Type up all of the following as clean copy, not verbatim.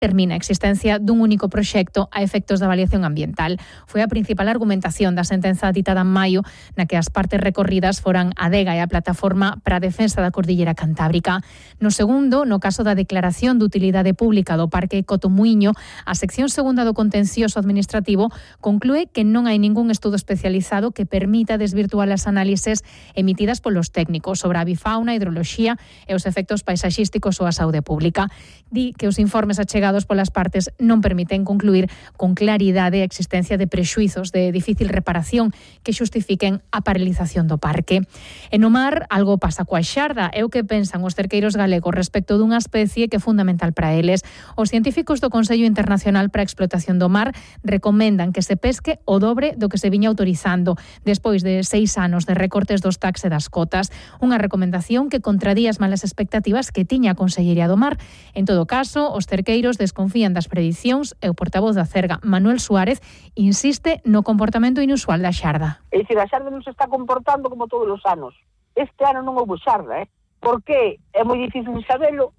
termina a existencia dun único proxecto a efectos da avaliación ambiental. Foi a principal argumentación da sentenza ditada en maio, na que as partes recorridas foran a Adega e a Plataforma para a Defensa da Cordillera Cantábrica. No segundo, no caso da declaración de utilidade pública do Parque Cotomuiño, a sección segunda do contencioso administrativo conclúe que non hai ningún estudo especializado que permita desvirtuar as análises emitidas polos técnicos sobre a avifauna, a hidroloxía e os efectos paisaxísticos ou a saúde pública. Di que os informes achegados polas partes non permiten concluir con claridade a existencia de prexuizos de difícil reparación que xustifiquen a paralización do parque. E no mar, algo pasa coa xarda, é o que pensan os cerqueiros galegos respecto dunha especie que é fundamental para eles. Os científicos do Consello Internacional para a Explotación do Mar recomendan que se pesque o dobre do que se viña autorizando despois de 6 anos de recortes dos tax e das cotas. Unha recomendación que contradía as malas expectativas que tiña a Consellería do Mar. En todo caso, os cerqueiros desconfían das predicións e o portavoz da Cerga, Manuel Suárez, insiste no comportamento inusual da xarda. É dicir, a xarda non se está comportando como todos os anos. Este ano non houve xarda, Por que? É moi difícil sabelo.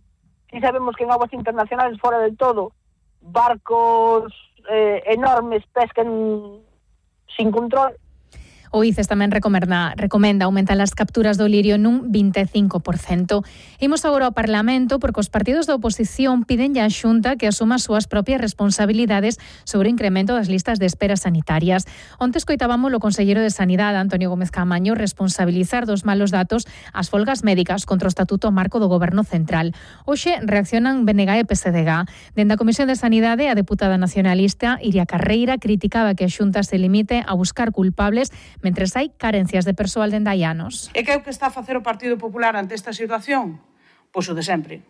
Si sabemos que en aguas internacionales fora del todo barcos enormes pescan sin control. O ICES tamén recomenda aumentar as capturas do lirio nun 25%. Imos agora ao Parlamento porque os partidos da oposición piden á Xunta que asuma as súas propias responsabilidades sobre o incremento das listas de espera sanitarias. Onte escoitábamos o conselleiro de Sanidade, Antonio Gómez Caamaño, responsabilizar dos malos datos as folgas médicas contra o Estatuto Marco do Goberno Central. Hoxe reaccionan BNG e PSDG. Dende a Comisión de Sanidade, a deputada nacionalista Iria Carreira criticaba que a Xunta se limite a buscar culpables mentres hai carencias de persoal dende hai anos. E que é o que está a facer o Partido Popular ante esta situación? Pois o de sempre.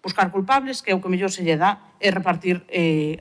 Buscar culpables, que é o que mellor se lle dá, e repartir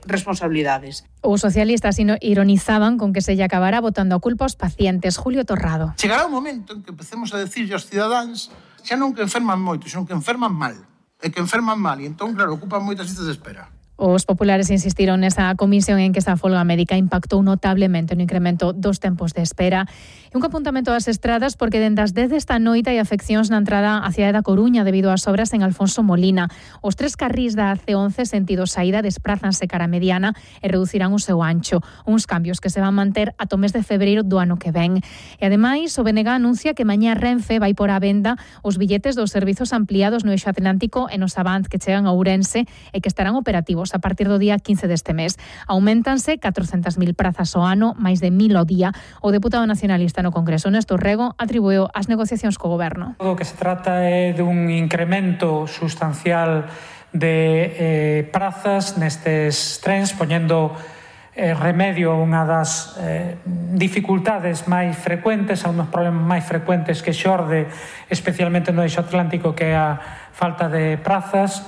responsabilidades. Os socialistas ironizaban con que se lle acabará botando a culpa aos pacientes. Julio Torrado. Chegará un momento en que empecemos a decirlle aos cidadáns xa non que enferman moito, senón que enferman mal. E que enferman mal, e entón, claro, ocupan moitas listas de espera. Os populares insistiron nesa comisión en que esa folga médica impactou notablemente no incremento dos tempos de espera. E un apuntamento ás estradas porque dende as 10 desta noite hai afeccións na entrada á cidade da Coruña debido ás obras en Alfonso Molina. Os 3 carrís da AC11 sentido saída desprázanse cara a Mediana e reducirán o seu ancho. Uns cambios que se van manter ata o mes de febreiro do ano que ven. E ademais, o BNG anuncia que mañá Renfe vai por a venda os billetes dos servizos ampliados no eixo atlántico e nos Avant que chegan a Ourense e que estarán operativos a partir do día 15 deste mes. Auméntanse 400.000 prazas ao ano, máis de 1.000 ao día. O deputado nacionalista no Congreso, Néstor Rego, atribuiu as negociacións co Goberno. O que se trata é dun incremento sustancial de prazas nestes trens, poñendo remedio a unha das dificultades máis frecuentes, a unos problemas máis frecuentes que xorde especialmente no eixo atlántico, que é a falta de prazas.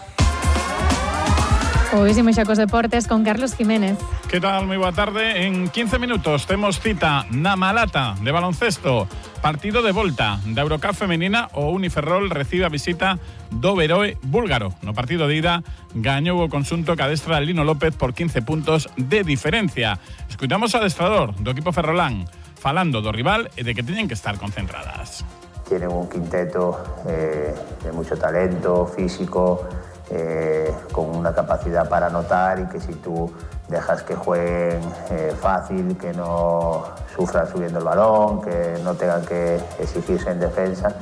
Hoy hicimos xa cos deportes con Carlos Jiménez. Que tal? Moi boa tarde. En 15 minutos temos cita na Malata de baloncesto. Partido de volta da Eurocup femenina. O Uniferrol recibe a visita do Beroe búlgaro. No partido de ida gañou o conxunto que adestra Lino López por 15 puntos de diferencia. Escuitamos ao adestrador do equipo ferrolán falando do rival e de que teñen que estar concentradas. Tienen un quinteto de mucho talento físico, con una capacidad para anotar, y que si tú dejas que jueguen fácil, que no sufran subiendo el balón, que no tengan que exigirse en defensa,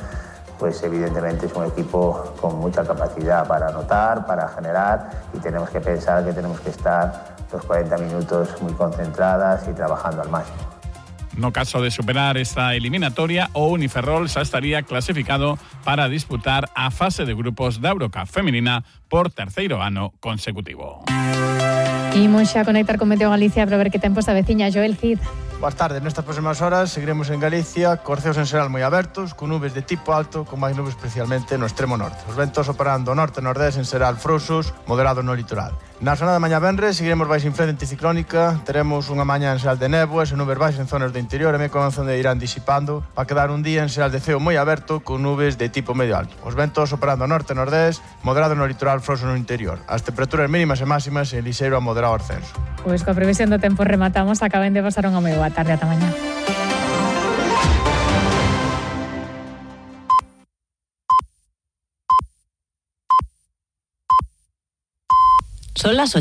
pues evidentemente es un equipo con mucha capacidad para anotar, para generar, y tenemos que pensar que tenemos que estar los 40 minutos muy concentradas y trabajando al máximo. No caso de superar esta eliminatoria, o Uniferrol xa estaría clasificado para disputar a fase de grupos da Eurocup femenina por terceiro ano consecutivo. Imos xa conectar con Meteo Galicia para ver que tempo se aveciña. Joel Cid. Boas tardes, nestas próximas horas seguiremos en Galicia cos ceos en xeral moi abertos, con nubes de tipo alto, con máis nubes especialmente no extremo norte. Os ventos operando norte e nordés en xeral frouxos, moderados no litoral. Na zona da mañá venres seguiremos baixo influencia anticiclónica, teremos unha mañá en xeral de néboas e nubes baixas en zonas do interior e me comenzan de irán disipando para quedar un día en xeral de ceo moi aberto con nubes de tipo medio alto. Os ventos operando norte e nordés, moderados no litoral, frouxos no interior. As temperaturas mínimas e máximas en lixeiro a moderado ascenso. Pois coa previsión do tempo rematamos, acaben de pasar unha moi boa tarde, ata mañá. Son las 8.